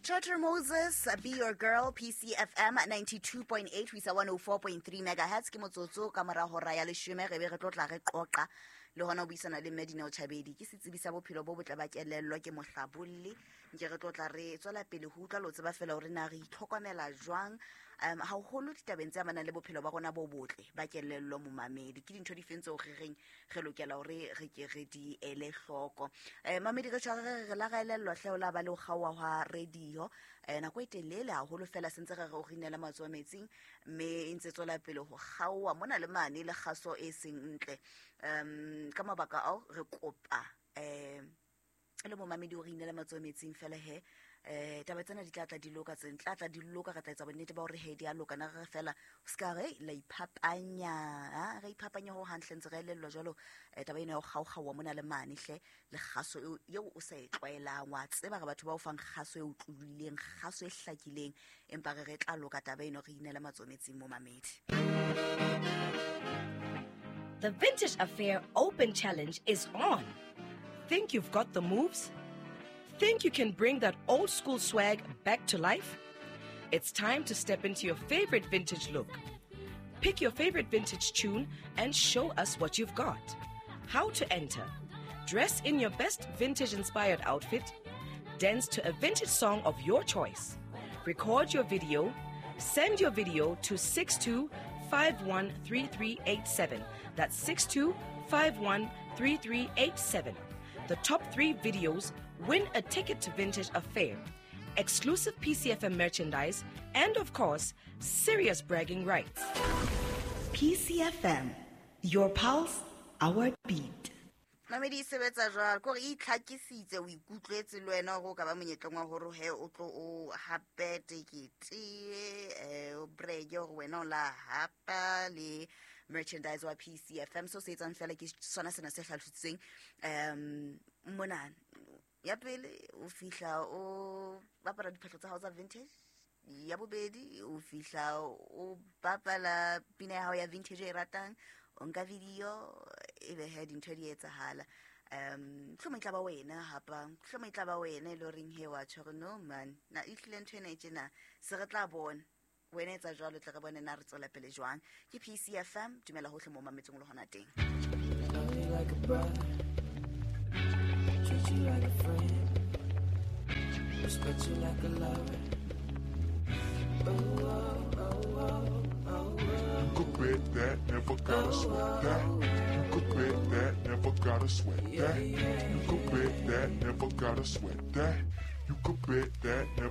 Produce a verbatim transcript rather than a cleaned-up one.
Trevor Moses, Be Your Girl, P C F M ninety-two point eight, ho isa one oh four point three megahertz. Ke motsotso ka mora hora ya leshome, re be re tlo tla re qoqa le hona ho buisana le Mme Dineo Chabedi. Ke setsebi sa bophelo bo botle ba kelello, ke mohlabolli. Nke re tlo tla re tswela pele ho utlwa le ho tseba fela hore na re itlhokomela jwang, um haholo ditabeng tse amanang le bophelo ba rona bo botle ba kelello momamedi. Ke dintho di feng tseo re reng re lokela hore re ke re di ele hloko. Eh, mamedi re tshware re re la ra elellwa hle o la ba le ho kgaoha hwa radio. Eh, nako e telele haholo fela sentse re re o rinela matsoho metsing, mme e ntse tswela pele ho kgaoha mona le mane le kgaso e seng ntle. Um, ka mabaka ao re kopa, eh, le momamedi o re inela matsoho metsing fela he. Eh, taba tsena di tla tla di loka, tse tla tla di loka, re tla etsa bonnete ba hore he di a loka. Na re fela o ska re la iphapanya, ha re iphapanya ho hantle ntse re elellwa jwalo. Eh, taba ena ya ho kgaokgaoha mona le mane hle, le kgaso eo, eo o sa e tlwaelang. Wa tseba re batho ba o fang kgaso e utlwileng, kgaso e hlakileng, empa re re tla loka taba eno, re inela matsoho metsing momamedi. The Vintage Affair Open Challenge is on. Think you've got the moves? Think you can bring that old school swag back to life? It's time to step into your favorite vintage look. Pick your favorite vintage tune and show us what you've got. How to enter? Dress in your best vintage-inspired outfit. Dance to a vintage song of your choice. Record your video. Send your video to six two five one three three eight seven. That's six two five one three three eight seven. The top three videos win a ticket to Vintage Affair, exclusive P C F M merchandise, and of course, serious bragging rights. P C F M, your pulse, our beat. Mamedi e sebetsa jwalo, ke hore e itlhakisitse, o ikutlwetse le wena hore o ka ba monyetleng wa hore he o tlo o hape tekete, eh, o breke hore wena o la hapa le merchandise wa P C F M. So se etsang fela ke sona sena se hlalositsweng, um, mona. Ya pele o fihla o bapala diphahlo tsa hao tsa vintage. Ya bobedi o fihla o bapala pina ya hao ya vintage e ratang, o nka video, ebe he dintho di etsahala. Um, mohlomong e tla ba wena hapa, mohlomong e tla ba wena e le horeng he wa tjho hore no man, na e hlile ntho ena e tjena, se re tla bona. Wena etsa jwalo, tle re bone na re tswela pele jwang. Ke P C F M, dumela hohle moo mametseng le hona teng. Love you like a brother, treat you like a friend, respect you like a lover. Oh, oh, oh, oh, oh, oh. You could bet that, never gotta sweat that. You could bet that, never gotta sweat that. You could bet that, never gotta sweat that. You could bet that, never